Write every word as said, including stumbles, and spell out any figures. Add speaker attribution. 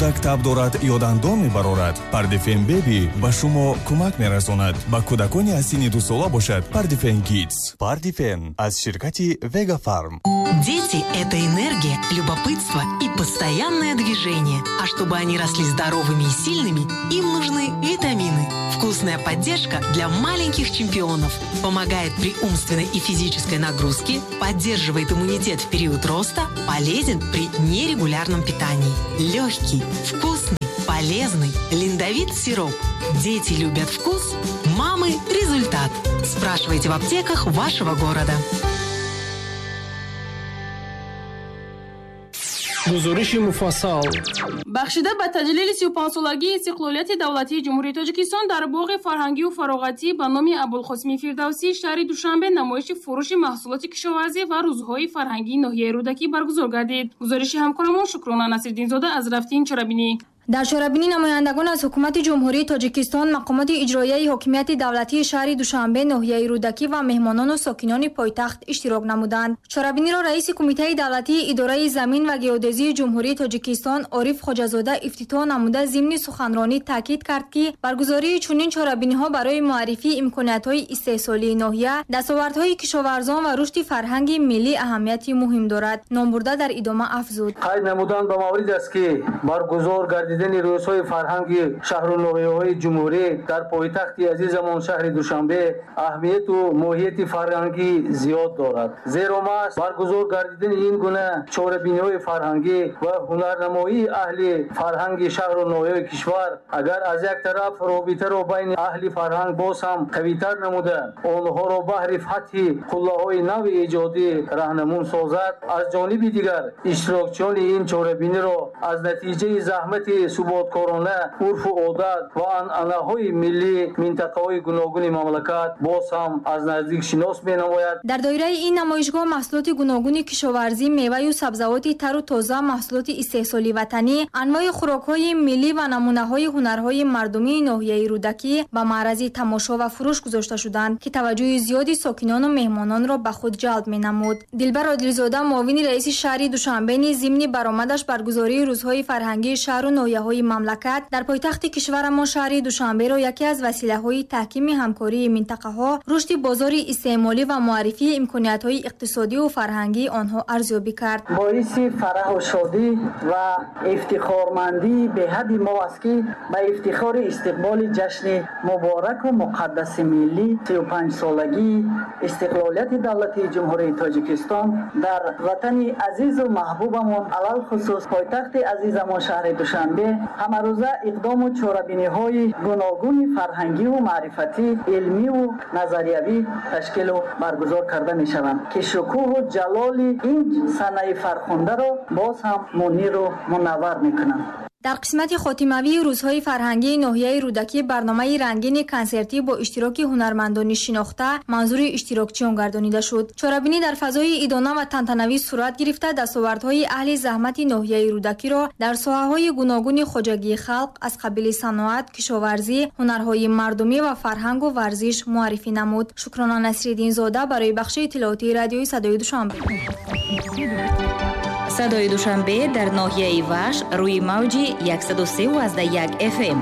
Speaker 1: Кӯдак таб дорад ё дандон мебарорад, Пардифен Беби ба шумо кӯмак мерасонад. Ба кӯдакони аз синни дусола бошад Пардифен Кидс. Пардифен аз ширкати Вега Фарм.
Speaker 2: Дети – это энергия, любопытство и постоянное движение. А чтобы они росли здоровыми и сильными, им нужны витамины. Вкусная поддержка для маленьких чемпионов. Помогает при умственной и физической нагрузке, поддерживает иммунитет в период роста, полезен при нерегулярном питании. Легкий, вкусный, полезный Линдовит сироп. Дети любят вкус, мамы – результат. Спрашивайте в аптеках вашего города.
Speaker 3: Гузориши муфассал.
Speaker 4: Бахшида ба таҷлили сию панҷсолагии истиқлолияти давлатии Ҷумҳурии Тоҷикистон дар боғи фарҳангию фароғатӣ ба номи Абулқосими Фирдавсӣ шаҳри Душанбе намоиши фурӯши маҳсулоти кишоварзӣ ва рӯзҳои фарҳангии ноҳияи Рӯдакӣ баргузор гардид. Гузориши ҳамкорамон Шукрона Насриддинзода аз рафти ин чорабинӣ.
Speaker 5: Дар чорабинӣ намояндагон аз ҳукумати Ҷумҳурии Тоҷикистон, мақомоти иҷроияи ҳокимияти давлатии шаҳри Душанбе, ноҳияи Рӯдакӣ ва меҳмонону сокинони пойтахт иштирок намуданд. Чорабиниро раиси Кумитаи давлатии идораи замин ва геодезии Ҷумҳурии Тоҷикистон Ориф Хоҷазода ифтитоҳ намуда, зимни суханронӣ таъкид кард, ки баргузории чунин чорабиниҳо барои муаррифии имкониятҳои истеҳсолии ноҳия, дастовардҳои кишоварзон ва рушди фарҳанги миллӣ аҳамияти муҳим дорад. Номбурда дар идома афзуд:
Speaker 6: Қайд намудан ба маврид аст, ки баргузор гардидани рӯзҳои фарҳанги шаҳру ноҳияҳои ҷумҳурӣ дар пойтахти азизамон шаҳри Душанбе аҳамияту моҳияти фарҳангӣ зиёд дорад. Зеро маҳз баргузор гардидани ин гуна чорабиниҳои фарҳангӣ ва ҳунарнамоии аҳли фарҳанги шаҳру ноҳияҳои кишвар агар аз як тараф робитаро байни аҳли фарҳанг боз ҳам қавитар намуда, онҳоро баҳри фатҳи қуллаҳои нави эҷодӣ раҳнамун созад, аз ҷониби дигар иштирокчиёни ин чорабиниро аз натиҷаи заҳмати суботкорона, урфу одат ва анъанаҳои миллии минтақаҳои гуногуни мамлакат боз ҳам аз наздик шинос менамояд.
Speaker 5: Дар доираи ин намоишгоҳ маҳсулоти гуногуни кишоварзӣ, меваю сабзавоти тару тоза, маҳсулоти истеҳсоли ватанӣ, анвои хӯрокҳои миллӣ ва намунаҳои ҳунарҳои мардумии ноҳияи Рӯдакӣ ба маърази тамошо ва фурӯш гузошта шуданд, ки таваҷҷӯҳи зиёди сокинону меҳмононро ба худ ҷалб менамуд. Дилбар Одилзода, муовини раиси шаҳри Душанбе низ зимни баромадаш баргузории рӯзҳои фарҳангии шаҳру ноҳияҳои мамлакат дар пойтахти кишварамон шаҳри Душанберо яке аз василаҳои таҳкими ҳамкории минтақаҳо, рушди бозори истеъмолӣ ва муаррифии имкониятҳои иқтисодию фарҳангии онҳо арзёбӣ кард.
Speaker 7: Боиси фараҳу шодӣ ва ифтихормандии беҳадди мо аст, ки ба ифтихори истиқболи ҷашни мубораку муқаддаси миллӣ, сию панҷсолагии истиқлолияти давлатии Ҷумҳурии Тоҷикистон, дар ватани азизу маҳбубамон, алалхусус пойтахти азизамон шаҳри Душанбе, ҳамарӯза иқдому чорабиниҳои гуногуни фарҳангиву маърифатӣ, илмиву назариявӣ ташкилу баргузор карда мешаванд, ки шукӯҳу ҷалоли ин санаи фархундаро боз ҳам муниру мунаввар мекунанд.
Speaker 5: Дар қисмати хотимавии рӯзҳои фарҳангии ноҳияи Рӯдакӣ барномаи рангини консертӣ бо иштироки ҳунармандони шинохта манзури иштирокчиён гардонида шуд. Чорабинӣ дар фазои идона ва тантанавӣ сурат гирифта, дастовардҳои аҳли заҳмати ноҳияи Рӯдакиро дар соҳаҳои гуногуни хоҷагии халқ аз қабили саноат, кишоварзӣ, ҳунарҳои мардумӣ ва фарҳангу варзиш муаррифӣ намуд. Шукрона Насриддинзода барои бахши иттилоотии радиои Садои Душанбе.
Speaker 8: Садои Душанбе дар ноҳияи Вахш рӯи мавҷи яксаду се аз даҳ як F M.